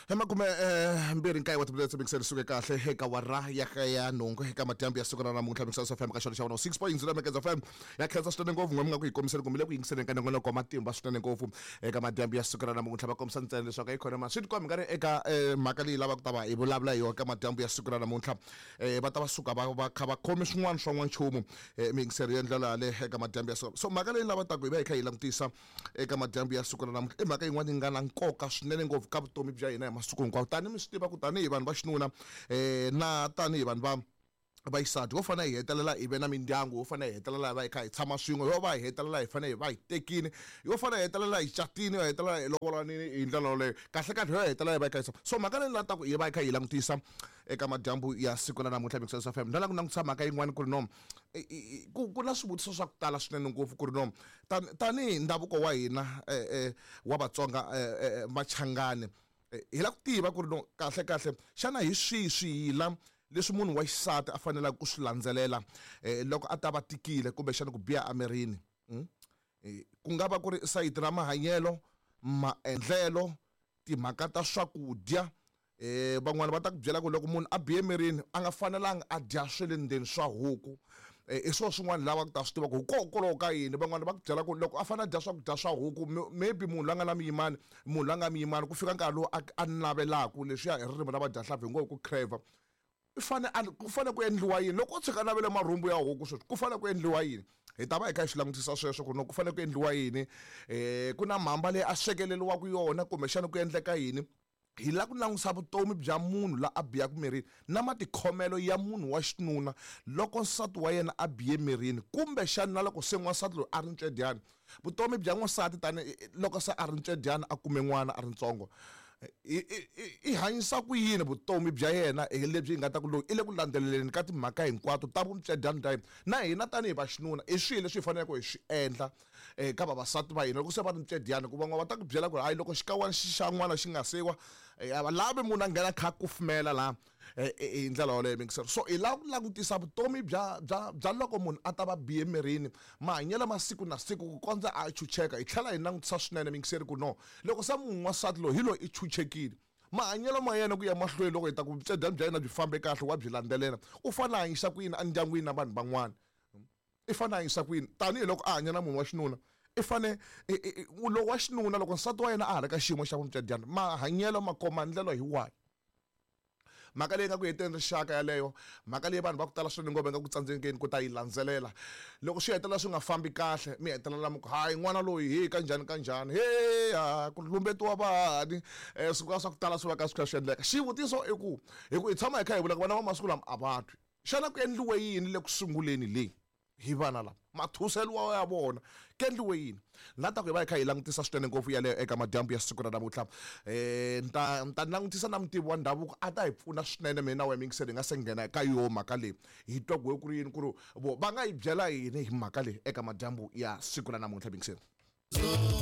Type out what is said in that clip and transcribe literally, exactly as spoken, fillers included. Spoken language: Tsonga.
Emakume eh, mbirhi nkaye wa timinetse mingiseni suke kahle eka wara ya ka ya nhungu eka madyambu ya siku ra namuntlha Mixers F M ka xona xa one oh six point zero Mekeza F M. Ya khensa swinene ngopfu n'we mi nga ku hi kombiseni kumbe le ku yingiseleni ka nongonoko wa matimba swinene ngopfu eka madyambu ya siku ra namuntlha. Va kombisa ntsena leswaku yi khona ma swi tikombi nga ri eka eh, mhaka leyi lavaka ku ta va hi vulavula hi yona eka madyambu ya siku ra namuntlha. eh, va ta va suka va va kha va khome swin'wana swa n'wanchumu eh, miyingiseri ya ndlela yaleyo eka madyambu ya siku. So mhaka leyi lavataka hi va hi kha hi langutisa eka madyambu ya siku ra namuntlha i mhaka yin'wana yi nga na nkoka swinene ngopfu ka vutomi bya hina hi masiku hinkwawo. Tanihi mi swi tiva ku tanihi vanhu va xinuna eh, na tanihi vanhu va vaxisati, ho fanele hi hetelela hi ve na mindyangu, ho fanele hi hetelela hi va hi kha hi tshama swin'we, yo va hi hetelela hi fanele hi va hi tekini, yo fanele hi hetelela hi catini, yo hetelela hi lovolanini hi ndlela yoleyo. Kahle kahle yo hetelela hi va hi kha hi tshama. So mhaka leyi lataka hi va hi kha hi langutisa eka madyambu ya siku ra namuntlha Mixers F M, ni lava ku langutisa mhaka yin'wana ku ri no i- i- i- ku ku na swivutiso swa ku tala swinene ngopfu ku ri no tani- tanihi ndhavuko wa hina eh, eh, wa Vatsonga, eh, eh, Machangani, eh, hi lava ku tiva ku ri no kahle kahle xana hi swihi swiyila leswi munhu wa xisati a faneleke ku swi landzelela eh, loko a ta va tikile kumbexana ku biha emirini mm? Eh, ku nga va ku ri sayiti ra mahanyelo, maendlelo, timhaka ta swakudya. eh van'wana va ta ku byela ku loko munhu a bihe emirini a nga fanelanga a dya swa le ndzeni swa huku. eh i swona swin'wana lava ku ta swi tiva ku hikokwalaho ka yini. Van'wana va ku byela ku loko a fanele a dya swakudya swa huku, maybe munhu la nga na muyimani, munhu la nga muyimani, ku fika nkarhi lowu a a navelaka leswiya hi ririmi ra vadyahlampfi hi ngo ku crave, i fane a ku fane ku endliwa yini loko o tshuka a navele marhumbu ya huku sweswi? Ku fane ku endliwa yini? Hi ta va hi kha hi swi langutisa sweswo ku no ku fane ku endliwa yini. eh ku na mhamba leyi a swekeleriwaka yona kumbexana ku endleka yini? Hi lava ku langutisa vutomi bya munhu la a biyaka mirini na matikhomelo ya munhu wa xinuna loko nsati wa yena a biye mirini, kumbexana na loko se n'wansati loyi a ri ntswedyani. Vutomi bya n'wansati tani loko se a ri ntswedyani, a kume n'wana a ri ntsongo, i i i hanyisa ku yini vutomi bya yena hi lebyi hi nga ta ku loyi i le ku landzeleleni ka timhaka hinkwato ta vuntswedyani bya yena? Na hina tanihi vaxinuna, i swihi leswi hi faneleke hi swi endla eka vavasati va hina loko se va ri ntswedyani? Ku van'wana va ta ku byela ku ri hayi, loko xikawani xa n'wana xi nga siwa, a va lavi munhu a nghena kha a kufumela laha hi ndlela yoleyo mingisero. So hi lava ku langutisa vutomi bya bya bya loko munhu a ta va bihe mirini, mahanyelo ma siku na siku ku kondza a chucheka. Hi tlhela hi langutisa swinene mingiseri ku no loko se munhu wansati loyi hi loyi i chuchekile, mahanyelo ma yena ku ya mahlweni loko hi ta ku vutswedyani bya yena byi fambe kahle wa byi landzelela, u fanele a hanyisa ku yini endyangwini na vanhu van'wana? I fanele a hanyisa ku yini tanihiloko a hanya na munhu wa xinuna? I fane lowu wa xinuna loko nsati wa yena a ha ri ka xiyimo xa vuntswedyani, mahanyelo makomandlelo hi wahi? Mhaka leyi nga ku heteni rixaka yaleyo, mhaka leyi vanhu va ku tala swinene ngopfu va nga ku tsandzekeni ku ta yi landzelela. Loko swi hetelela swi nga fambi kahle, mi hetelela mi ku hayi, n'wana loyi hi kanjhani kanjhani, he ha ku lumbetiwa vahani, um swi swa ku tala swi va ka swi kha swi endleka. Xivutiso i ku hi ku hi tshama hi kha hi vula ku vana va masiku lama a va twi. Xana ku endliwe yini le ku sunguleni leyi hi vana lava mathuseliwa ya vona? Ku endliwe yini? La ta ku hi va hi kha hi langutisa swinene ngopfu yaleyo eka madyambu ya siku ra namuntlha. um ni ta ni ta langutisa na mutivi wa ndhavuko a ta hi pfuna swinene. Mina na wena mingiseni hi nga se nghena ka yo mhaka leyi, hi twa ku ku ri yini, ku ri vo va nga hi byela yini hi mhaka leyi eka madyambu ya siku ra namuntlha mingiseni.